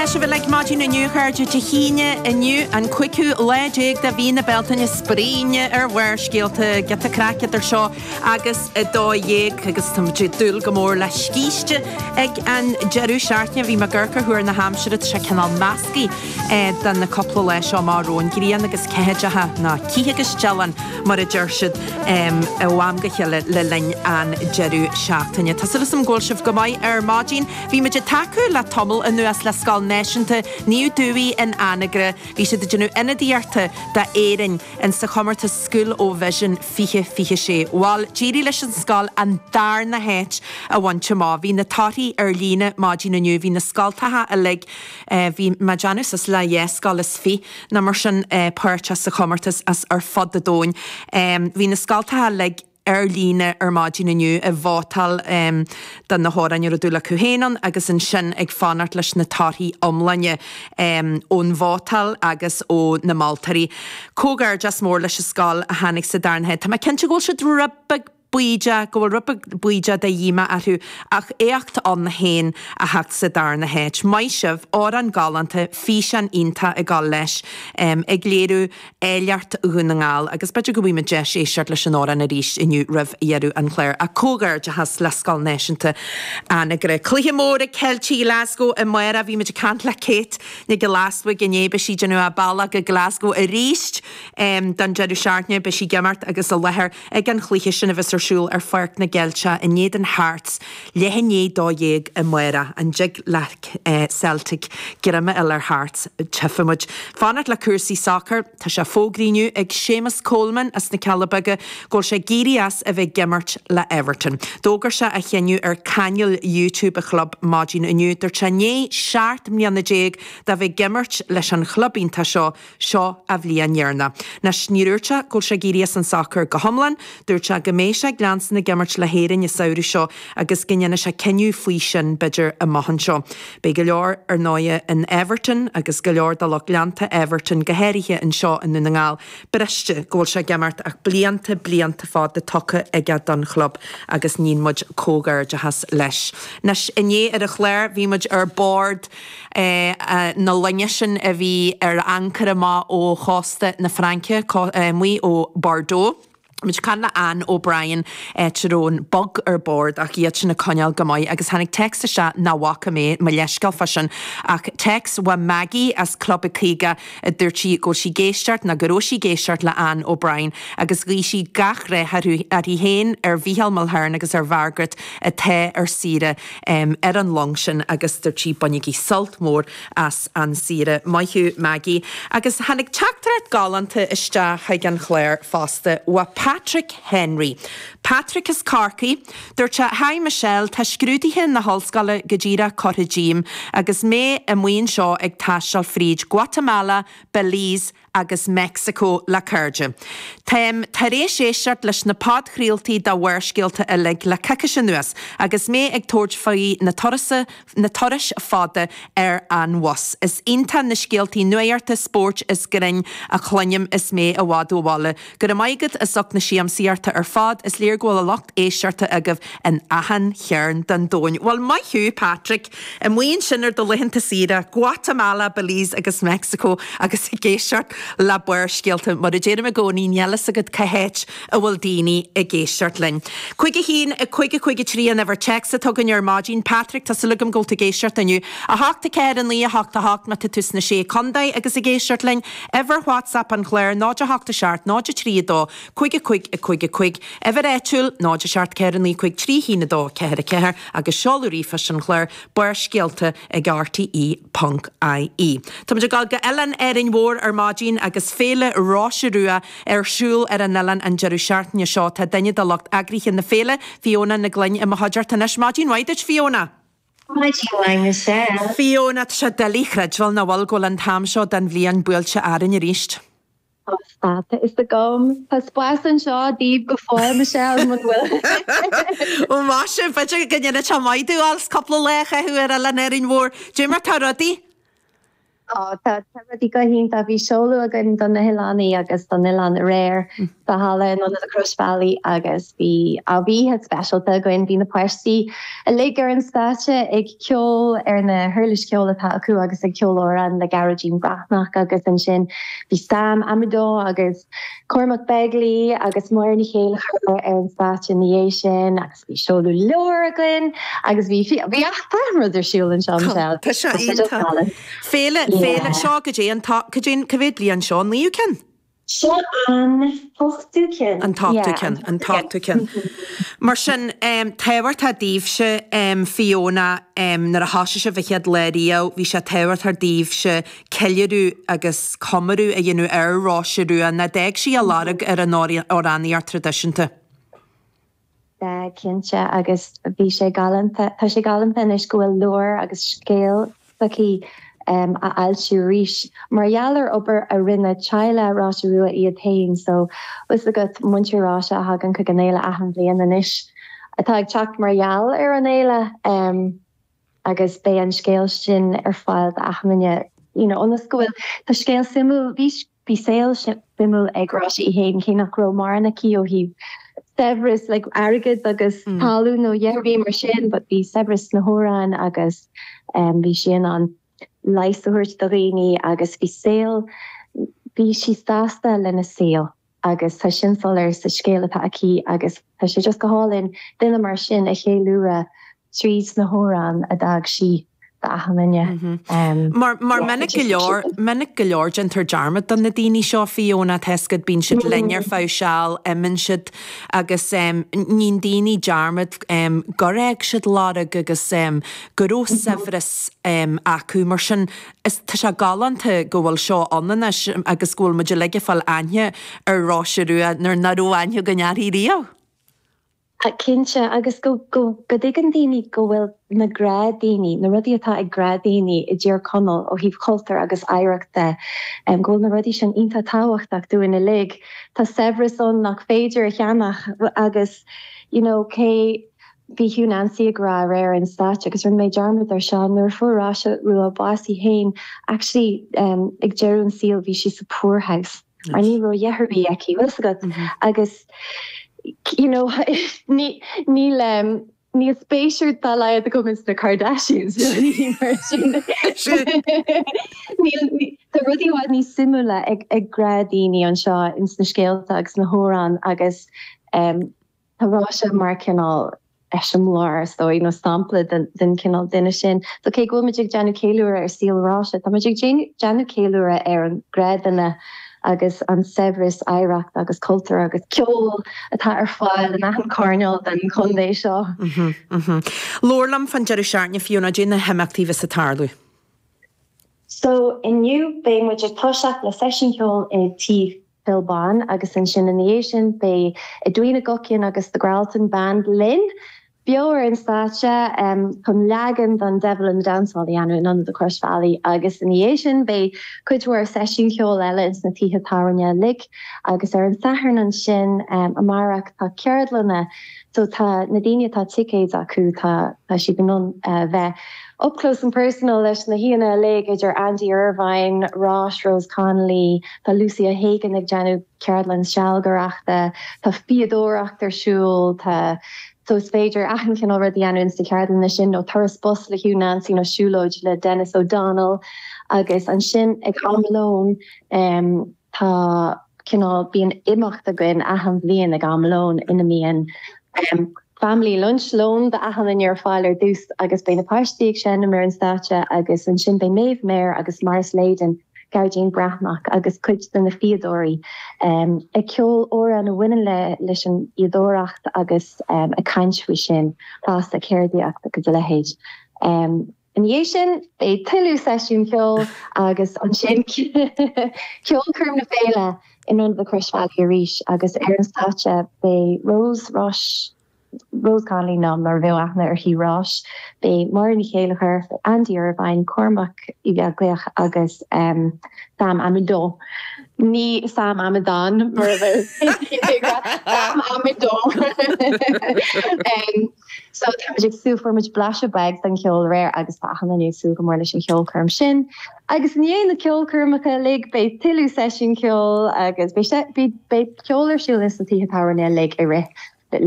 Beidh sibh uilig maidin inniu, a chairde, Dé hAoine inniu, an cúigiú lá déag de mhí na Bealtaine, spraoine ar Bharrscéalta, giota craic idir seo agus 12 agus tá muid ag dúil go mór le scíste ag an deireadh seachtaine. Bhí mé ag amharc ar thuar na haimsire, tá sé cineál measctha do na cúpla lá seo amach romhainn, grian agus ceathaideacha, nó cith agus dealán mar a deir siad, ó am go chéile le linn an deireadh seachtaine. Tá súil agam go bhfuil sibh go maith ar maidin. Bhí muid ag tacú le tamall anuas le Scoil Náisiúnta Naomh Dubhthaigh in Anagaire. Bhí siad ag déanamh ionadaíochta d'Éirinn in sa chomórtas School O Vision 2026. Bhal, d'éirigh leis an scoil an darna háit a bhaint amach. Bhí na torthaí ar líne maidin inniu. Bhí na scoltacha uilig, bhí mé ag déanamh suas le dheich scoil is fiche nó mar sin páirteach sa chomórtas as ar fud an domhain. Bhí na scoltacha uilig ar líne ar maidin inniu ag vótáil do na hamhráin a raibh dúil acu féin ann agus ansin ag fanacht leis na torthaí iomláine ón vótáil agus ó na moltóirí. Comhghairdeas mór leis an scoil a tháinig sa darna háit. Tá mé cinnte go bhfuil siad rud beag baoideach, go bhfuil rud beag baoideach de dhíomá orthu ach éacht ann féin a theacht sa darna háit. Maith sibh, amhrán galánta, físeán iontach ag dul leis, ag léiriú áilleacht Dhún na nGall agus b'fhéidir go bhfaighidh muid deis éisteacht leis an amhrán arís inniu roimh dheireadh an chláir. Ach comhghairdeachas le Scoil Náisiúnta Anagaire. Cluiche mór ag Ceiltigh Ghlasgow amárach. Bhí muid ag caint le Kate Nic Giolla Easbuig inné. Beidh sí ag déanamh a bealach go Glasgow arís don deireadh seachtaine. Beidh sí ag imirt agus i láthair ag an chluiche sin a bheas ar siúl ar Pháirc na gCeilteach in éadan Hearts leath i ndiaidh 12 amárach. An dtig le Celtic greim a fháil ar Hearts? Tchífidh muid. Fanacht le cúrsaí sacair, tá sé fógraithe inniu ag Séamus Coleman as na Cealla Beaga go bhfuil sé ag éirí as a bheith ag imirt le Everton. D'fhógair sé a chinneadh ar chainéal YouTube a chlub maidin inniu. Dúirt sé i ndiaidh 17 mbliana de bheith ag imirt leis an chlub iontach seo, Seo a bhliain dheireanach. Anois, níor dhúirt sé go bhfuil sé ag éirí as an sacar go hiomlán, dúirt sé go mbeidh sé ag leanstan ag imirt le hÉirinn an samhradh seo agus go ndéanfaidh sé cinneadh faoi sin, b'fhéidir, amach anseo. Beidh go leor, ar ndóighe, in Everton agus go leor de lucht leanta Everton, go háirithe anseo i nDún na nGall, briste go bhfuil sé ag imeacht ach blianta, blianta fada tugtha aige don chlub agus níonn muid comhghairdeachas leis. Anois, inné ar an chlár bhí muid ar bord na loinge sin a bhí ar ancaire amach ó chósta na Fraince, amuigh ó Bordeaux. Muid ag caint le Anne O'Brien, áit a raibh an bug ar bord ach iad sin ag coinneáil go maith agus tháinig téacs isteach nach bhfaca mé, mo leithscéal fá sin, ach téacs ó Maggie as Club 50 a dúirt sí go bhfuil sí ag éisteacht, nó go raibh sí ag éisteacht le Anne O'Brien agus ghuigh sí gach rath uirthi féin, ar Mhícheál Mulhern agus ar Mhargaret atá ar saoire. ar an long sin agus dúirt sí bainigí sult mór as an saoire. Maith thú Maggie. Agus tháinig teachtaireacht galánta isteach chuig an chlár fosta ó Patrick Henry. Patrick as Corcaigh. Dúirt sé Hi Michelle, tá scrúduithe na hollscoile go díreach curtha díom agus mé amuigh anseo ag taisteal fríd Guatemala, Belize, agus Meicsiceo le cairde. Táim tar éis éisteacht leis na podchraoltaí de Bharrscéalta uilig le coicís anuas agus mé ag tabhairt faoi na turasa na turais fada ar an bhus. Is iontach na scéaltaí nuachta, spóirt is grinn a chluinim is mé i bhfad ó bhaile. Go raibh maith agat as ucht na siamsaíochta ar fad, is léir go bhfuil a lucht éisteachta agaibh in achan chearn den domhain. Bhuel, maith thú, Patrick! Amuigh ansin ar do laethanta saoire, Guatemala, Belize agus Mexico agus ag éisteacht le Barrscéalta. Mar a deirim i gcónaí, níl fhios agat cá háit a bhfuil daoine ag éisteacht linn. 5 1 5 5 3 an uimhir téacs atá againn ar maidin. Patrick, tá súil agam go bhfuil tú ag éisteacht inniu. 8 4 9 8 8 má tá tú sna Sé Contae agus ag éisteacht linn. Uimhir WhatsApp an chláir 0 8 7 0 3 2 5 5 5 5. Uimhir áitiúil 0 7 4 9 5 3 1 2 4 4 agus seoladh ríomhphoist an chláir, Barrscéalta ag rte ponc ie. Táimid ag dul go Oileán Árainn Mhór ar maidin agus Féile Róise Rua ar siúl ar an oileán an deireadh seachtaine seo. Tá duine de lucht eagraithe na féile, Fiona Nic Gloinn, i mo chuideachta anois. Maidin mhaith duit, Fiona! Maidin mhaith, Michelle. Fiona, tá sé doiligh a chreidbheáil nach bhfuil go bhfuil an t-am seo den bhliain buailte orainn arís. Tá a fhios agam. Tá spás anseo daoibh go fóill, Michelle, muna bhfuil. Ó maise, b'fhéidir go ndéanfaidh sé maith domh cúpla lá a chaitheamh ar Oileán Árainn Mhór. Dé mar tá rudaí? Ó, tá rudaí go hiontach. Bhí seoladh againn do na hoileánaigh agus don oileán aréir sa halla in Ionad an Chroisbhealaigh agus bhí á bhí oíche speisialta againn. Bhí na páistí uilig ar an stáitse ag ceol ar na huirlis cheoil atá acu agus ag ceol amhrán le Gearóidín Breathnach agus ansin bhí Sam Amidon agus Cormac Begley agus Máire Ní Chéilleachair ar an stáitse ina dhiaidh sin agus Bhí seoladh leabhar againn agus bhí bhí achan rud ar siúl anseo Michelle. Tá sé iontach. Féile, féile, seo go dtí an go dtí an cá mhéad bliain seo, an naoú ceann? Seo an t-ochtú ceann. An t-ochtú ceann, an t-ochtú ceann. Mar sin, tábhachtach daoibhse, Fiona, nuair a thosaigh sibh an chéad lá riamh, bhí sé tábhachtach daoibhse ceiliúradh agus comóradh a dhéanamh ar Róise Rua, nó d'fhág sí a lorg ar an amhránaíocht traidisiúnta. Sea, cinnte, agus bhí sé galánta, tá sé galánta anois go bhfuil leabhar agus scéal s'aici á fhoilsiú arís, mar gheall ar obair a rinne teaghlach Róise Rua iad féin, so bhfuil 's agat, muintir Róise a thagann chuig an fhéile achan bhliain anois, atá ag teacht mar gheall ar an fhéile. agus beidh an scéal sin ar fáil d'achan duine you know ionas go bhfuil, tá scéal suimiúil, bhí, bhí saol suimiúil ag Róise í féin cé nach raibh mórán aici ó thaobh saibhreas like airgead agus talún nó a dhath ar bith mar sin but bhí saibhreas sna hamhráin agus bhí sí in ann leigheas a thabhairt do dhaoine agus bhí saol, bhí sí sásta lena saol. agus tá sin soiléir sa scéal atá aici agus tá sé just go hálainn duine mar sin a cheiliúradh tríd na hamhráin a d'fhág sí d'achan duine. Mar mar minic go leor, minic go leor déantar dearmad de na daoine seo, Fiona, tá 'fhios agat, bíonn siad linn ar feadh seal, imíonn siad agus níonn daoine dearmad gur fhág siad lorg agus go raibh saibhreas acu. Mar sin Is tá sé galánta go bhfuil seo ann anois agus go bhfuil muid uilig ag fáil aithne ar Róise Rua nuair nach raibh aithne againn uirthi riamh. Cinnte, agus go go dtuigeann daoine go bhfuil na gnáthdhaoine, na rudaí atá ag gnáthdhaoine i dTír Chonaill ó thaobh cultúir agus oidhreacht de, go bhfuil na rudaí sin iontach tábhachtach dúinn uilig. Tá saibhreas ann nach féidir a cheannach agus you know cé Bhí Hugh Nancy ag rá aréir ar an stáitse, agus rinne mé dearmad ar seo, nuair a fuair Róise Rua bás í féin, actually ag deireadh an saoil bhí sí sa poorhouse mar ní raibh a dhath ar bith aici, bhfuil 'fhios agat? Agus you know ní níl níl spéis dá laghad agam ins na Kardashians nó rudaí mar sin. Níl tá rudaí i bhfad níos suimiúla ag ag gnáthdhaoine anseo ins na scéalta agus na hamhráin agus Tá Róise mar cineál eiseamláir, is dóigh, nó sampla den chineál duine sin. So cé go bhfuil muid ag déanamh ceiliúradh ar saol Róise, tá muid ag déanamh ceiliúradh ar an ghnáthdhuine agus an saibhreas oidhreacht agus cultúr agus ceol atá ar fáil in achan choirneál den chontae seo. Labhair liom fán deireadh seachtaine, Fiona, cad é na himeachtaí a bheas ag tarlú. So inniu beidh muid ag toiseacht le seisiún ceoil i Tigh Phil Bán agus ansin ina dhiaidh sin beidh Edwina Guckian agus The Gralton Band linn beo ar an stáitse chun leagan den Devil in the Dance Hall a dhéanamh in Ionad an Chroisbhealaigh agus ina dhiaidh sin beidh cuid mhór seisiún ceoil eile ins na tithe tábhairne uilig agus ar an Satharn ansin amárach tá ceardlanna so tá na daoine atá ticéid acu tá tá siad in ann bheith up close and personal leis na haíonna uilig idir Andy Irvine, Rois, Rose Connolly, Tá Lucy O'Hagan ag déanamh ceardlann sealgaireachta, tá fíodóireacht ar siúl, tá so is féidir achan chineál rud a dhéanamh ins na ceardlanna sin, nó turas bus le Hugh Nancy nó siúlóid le Denis O'Donnell agus ansin ag am lóin tá cineál, bíonn imeacht againn achan bhliain ag am lóin ina mbíonn family lunch, lón d'achan duine ar fáil ar dtús agus beidh na páistí ag seinm ar an stáitse agus ansin beidh Maeve Maher agus Maurice Leyden, Gearóidín Breathnach agus cuid de na fíodóirí ag ceol amhrán a bhaineann le leis an fhíodóireacht agus ag caint faoi sin fosta, ceardaíocht agus a leithéid. Ina dhiaidh sin beidh tuilleadh seisiún ceoil agus ansin ceolchoirm na féile in Ionad an Chroisbhealaigh arís agus ar an stáitse beidh Rose Rois, Rose Connolly nó mar a bheadh aithne uirthi Rois, beidh Máire Ní Chéilleachair, beidh Andy Irvine, Cormac Ó Beaglaoich agus Sam Amidon. Ní Sam Amadán mar a bheadh Sam Amidon. So tá muid ag súil, fuair muid blaiseadh beag den cheol aréir agus tá achan duine ag súil go mór leis an cheolchoirm sin. Agus i ndiaidh na ceolchoirmeacha uilig beidh tuilleadh seisiún ceoil agus beidh ceol ar siúl ins na tithe tábhairne uilig i rith.